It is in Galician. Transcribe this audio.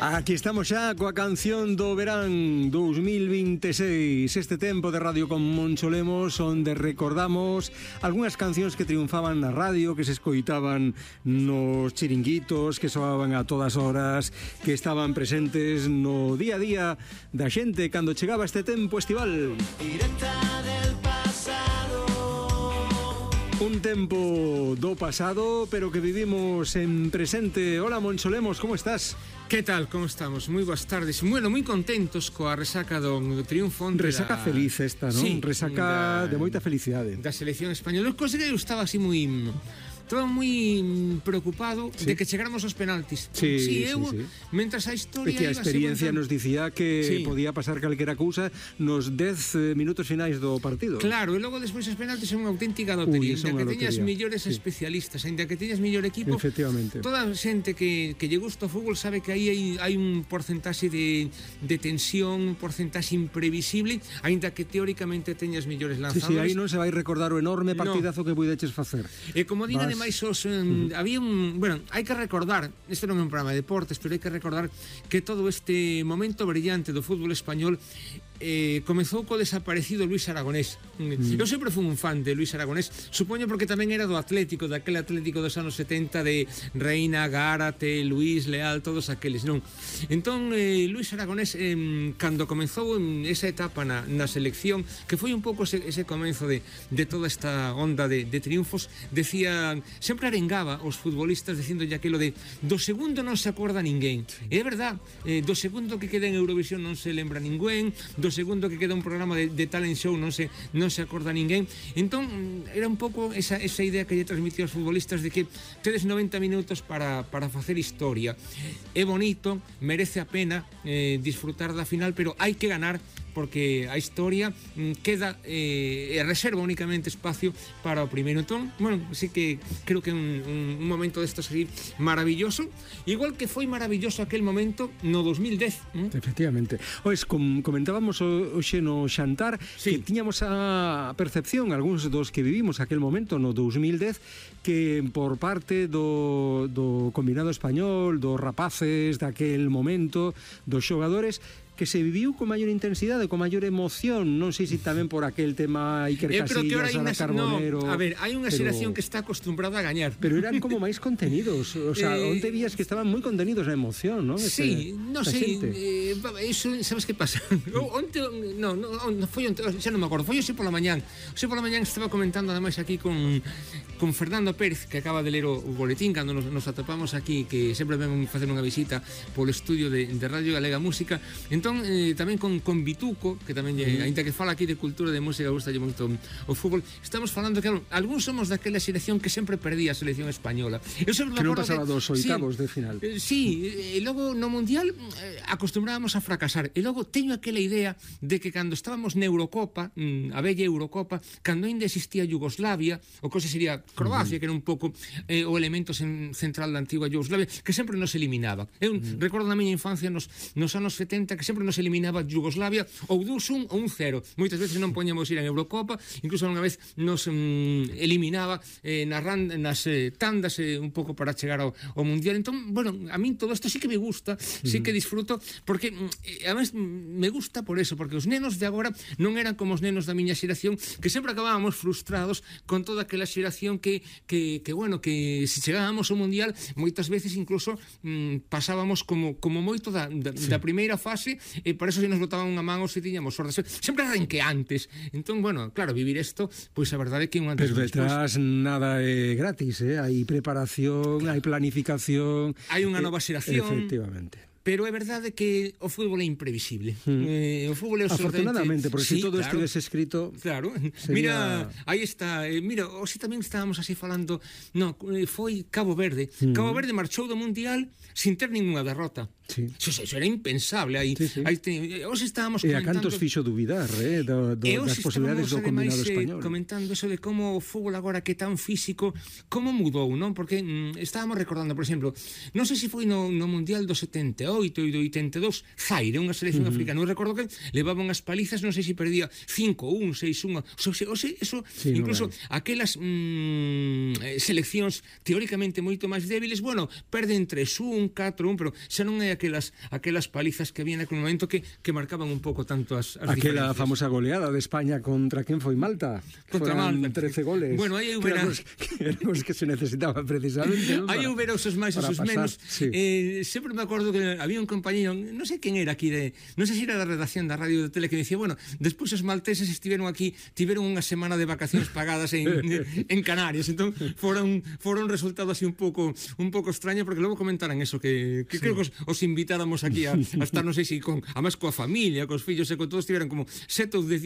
Aquí estamos xa coa canción do verán 2026. Este tempo de Radio con Moncho Lemos, onde recordamos algunhas cancións que triunfaban na radio, que se escoitaban nos chiringuitos, que soaban a todas horas, que estaban presentes no día a día da xente cando chegaba este tempo estival. Directa del pasado. Un tempo do pasado, pero que vivimos en presente. Hola, Moncho Lemos, como estás? Que tal, como estamos? Moi boas tardes. Bueno, moi contentos coa resaca do triunfo. Resaca feliz esta, non? Sí, resaca de moita felicidade. Da selección española. Cosa que eu estaba así moi... Estaba moi preocupado de que chegáramos aos penaltis. Sí. Mentras a historia... E que a experiencia nos dicía que podía pasar calquera cousa nos 10 minutos finais do partido. Claro, e logo despois os penaltis son unha auténtica lotería. Ainda que teñas millores especialistas, ainda que teñas mellor equipo, efectivamente, toda a xente que lle gusta o fútbol sabe que aí hai un porcentaxe de tensión, un porcentaxe imprevisible, ainda que teóricamente teñas mellores lanzadores. Sí, aí non se vai recordar o enorme partidazo que puideches facer. E como diga máis había un... Bueno, hai que recordar, isto non é un programa de deportes, pero hai que recordar que todo este momento brillante do fútbol español comezou co desaparecido Luis Aragonés. Eu sempre fui un fan de Luis Aragonés, supoño porque tamén era do Atlético, daquele Atlético dos anos 70 de Reina, Gárate, Luis Leal, todos aqueles, non? Entón, Luis Aragonés, cando comezou esa etapa na selección, que foi un pouco ese comenzo de toda esta onda de triunfos, decía, sempre arengaba os futbolistas dicindolle aquilo de do segundo non se acorda ninguén. E é verdad, do segundo que queda en Eurovisión non se lembra ninguén, do segundo que queda un programa de talent show non se acorda ninguén. Entón, era un pouco esa idea que lle transmitía aos futbolistas de que tedes 90 minutos para facer historia. É bonito, merece a pena disfrutar da final, pero hai que ganar, porque a historia queda reserva únicamente espacio para o primeiro. Entón, bueno, sí que creo que un momento destos así maravilloso, igual que foi maravilloso aquel momento no 2010. Efectivamente. Ois, comentábamos hoxe no xantar que tiñamos a percepción, algúns dos que vivimos aquel momento no 2010, que por parte do combinado español, dos rapaces daquel momento, dos xogadores, que se viviu con maior intensidade, con maior emoción, non sei se tamén por aquel tema Iker Casillas, Ana Carbonero... No, a ver, hai unha xeración que está acostumbrada a gañar. Pero eran como máis contenidos, o sea, onde vías que estaban moi contenidos na emoción, non? Sí, eso, sabes que pasa? Onte, non foi onte, xa non me acordo, foi hoxe pola mañán. Hoxe pola mañán estaba comentando ademais aquí con Fernando Pérez, que acaba de ler o boletín cando nos atopamos aquí, que sempre ven facer unha visita polo estudio de Radio Galega Música. Entón, tamén con Bituco, que tamén aínda que fala aquí de cultura de música, gustalle moito o fútbol. Estamos falando que algúns somos daquela selección que sempre perdía a selección española. Eu sempre que non pasaba dos oitavos de final. Sí, e logo no Mundial acostumbrábamos a fracasar. E logo teño aquela idea de que cando estábamos na Eurocopa, a bella Eurocopa, cando ainda existía Yugoslavia, o cosa sería Croacia, que era un pouco o elemento central da antigua Yugoslavia, que sempre nos eliminaba. Eu recordo na miña infancia nos anos 70 que sempre nos eliminaba Yugoslavia ou 2-1 ou 1-0. Moitas veces non poñamos ir en Eurocopa, incluso unha vez nos eliminaba nas tandas un pouco para chegar ao Mundial. Entón, bueno, a min todo isto sí que me gusta, sí que disfruto, porque además me gusta por eso, porque os nenos de agora non eran como os nenos da miña xeración, que sempre acabábamos frustrados con toda aquela xeración que bueno, que se chegábamos ao Mundial, moitas veces incluso pasábamos como moito da primeira fase, e por eso se nos botaban unha man ou se tiñamos sorte, sempre arranqueantes. Entón, bueno, claro, vivir isto, pois a verdade é que un antes pero detrás nada é gratis, hai preparación, hai planificación, hai unha nova xeración. Efectivamente. Pero é verdade que o fútbol é imprevisible. O fútbol é afortunadamente, porque se todo estivese escrito... Claro, sería... mira, aí está. Mira, hoxe tamén estábamos así falando... foi Cabo Verde. Cabo Verde marchou do Mundial sin ter ninguna derrota. Sí. Eso era impensable. Hoxe estábamos comentando... E a cantos fixo dubidar, das posibilidades do combinado español. Comentando eso de como o fútbol agora que é tan físico, como mudou, non? Porque estábamos recordando, por exemplo, non sei se foi no Mundial do 78, 88 e do 82, Zaire, unha selección africana. Eu recordo que levaban as palizas, non sei se perdía 5-1, 6-1, eso, Sí, incluso aquelas seleccións teóricamente moito máis débiles, bueno, perden 3-1, 4-1, pero xa non hai aquelas palizas que había naquele momento que marcaban un pouco tanto as aquela diferencias. famosa goleada de España contra quen foi Malta. Contra Foran Malta. 13 goles. Bueno, aí eu que eran os que se necesitaban precisamente, non? Aí houve os máis e os menos. Sí. Sempre me acordo que había un compañeiro, non sei quen era aquí, non sei se era da redacción da radio de tele, que dicía, bueno, despois os malteses estiveron aquí, tiveron unha semana de vacacións pagadas en Canarias, entón fora un resultado así un pouco extraño, porque logo comentaran eso, que creo que os invitáramos aquí a estar, non sei se además coa familia, cos fillos e con todos, tiveran como 7 ou 10